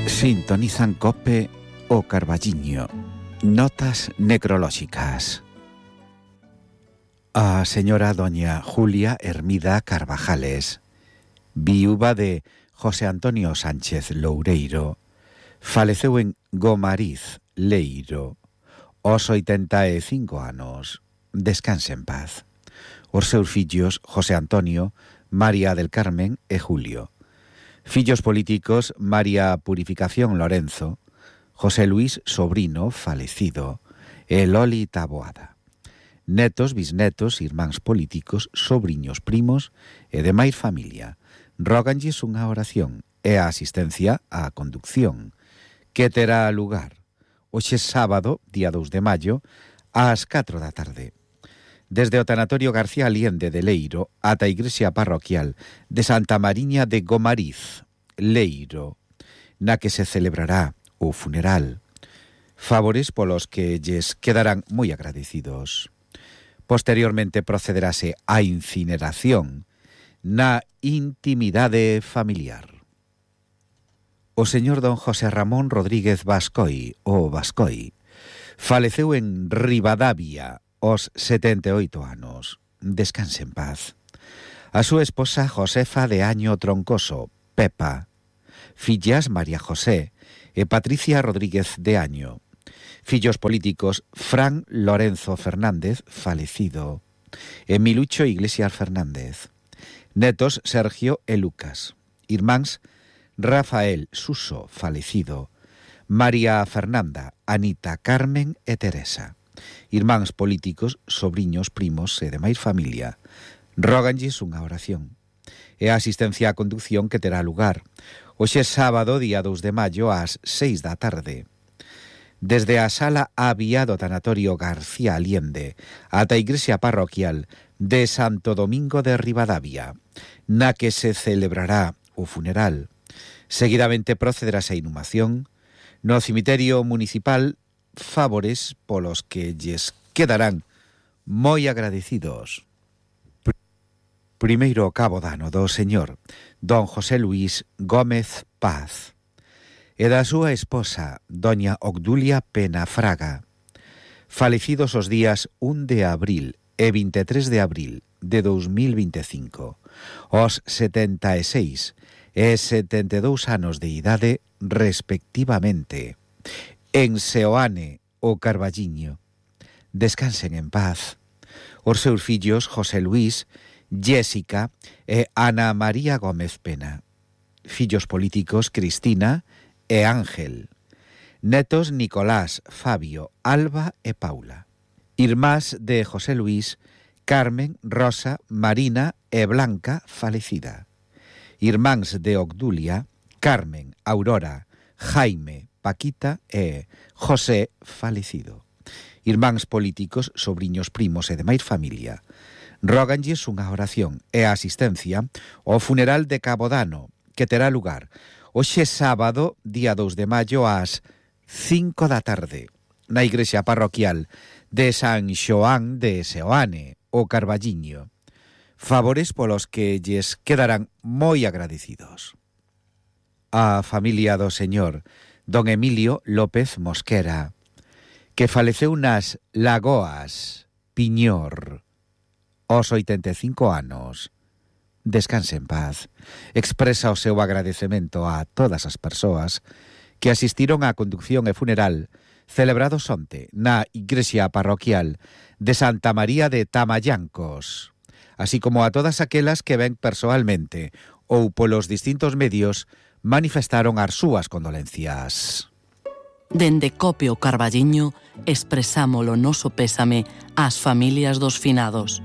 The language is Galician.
Sintonizan COPE o Carballiño. Notas necrolóxicas. A señora doña Julia Hermida Carvajales, viúva de José Antonio Sánchez Loureiro, faleceu en Gomariz, Leiro, aos 85 anos. Descanse en paz. Os seus fillos José Antonio, María del Carmen e Julio. Fillos políticos María Purificación Lorenzo, José Luis Sobrino, falecido, e Loli Taboada. Netos, bisnetos, irmáns políticos, sobriños, primos e demais familia. Róganlles unha oración e a asistencia á conducción, que terá lugar hoxe sábado, día 2 de maio, ás 4 da tarde. Desde o Tanatorio García Aliende de Leiro ata a Igrexa Parroquial de Santa Mariña de Gomariz, Leiro, na que se celebrará o funeral. Favores polos que lles quedarán moi agradecidos. Posteriormente procederase á incineración na intimidade familiar. O señor don José Ramón Rodríguez Bascoi, o Bascoi, faleceu en Ribadavia aos 78 anos. Descanse en paz. A súa esposa Josefa de Año Troncoso, Pepa, fillas María José e Patricia Rodríguez de Año. Fillos políticos Fran Lorenzo Fernández, falecido, e Milucho Iglesias Fernández. Netos Sergio e Lucas. Irmáns Rafael Suso, falecido, María Fernanda, Anita, Carmen e Teresa. Irmáns políticos, sobriños, primos e demais familia. Róganlles unha oración e a asistencia á conducción que terá lugar hoxe sábado, día 2 de maio, ás 6 da tarde. Desde a sala Avía do Tanatorio García Aliende ata a Igrexa Parroquial de Santo Domingo de Ribadavia, na que se celebrará o funeral. Seguidamente procederase a inhumación no cemiterio municipal, favores polos que lles quedarán moi agradecidos. Primeiro cabo dano do señor don José Luis Gómez Paz e da súa esposa doña Obdulia Pena Fraga, falecidos os días 1 de abril e 23 de abril de 2025, aos 76 e 72 anos de idade respectivamente, en Seoane o Carballiño. Descansen en paz. Os seus fillos José Luis, Jessica e Ana María Gómez Pena. Fillos políticos Cristina e Ángel. Netos Nicolás, Fabio, Alba e Paula. Irmás de José Luis, Carmen, Rosa, Marina e Blanca, falecida. Irmáns de Obdulia, Carmen, Aurora, Jaime, Paquita e José, falecido. Irmáns políticos, sobriños, primos e demais familia. Róganlles unha oración e a asistencia ao funeral de Cabo Dano, que terá lugar hoxe sábado, día 2 de maio, ás 5 da tarde, na Igrexa Parroquial de San Xoán de Seoane, o Carballiño. Favores polos que lles quedarán moi agradecidos. A familia do señor don Emilio López Mosquera, que faleceu nas Lagoas, Piñor, aos 85 anos. Descanse en paz. Expresa o seu agradecemento a todas as persoas que asistiron á conducción e funeral celebrados onte na Igrexa Parroquial de Santa María de Tamallancos, así como a todas aquelas que ven persoalmente ou polos distintos medios manifestaron as súas condolencias. Dende COPE o Carballiño expresamos o noso pésame ás familias dos finados.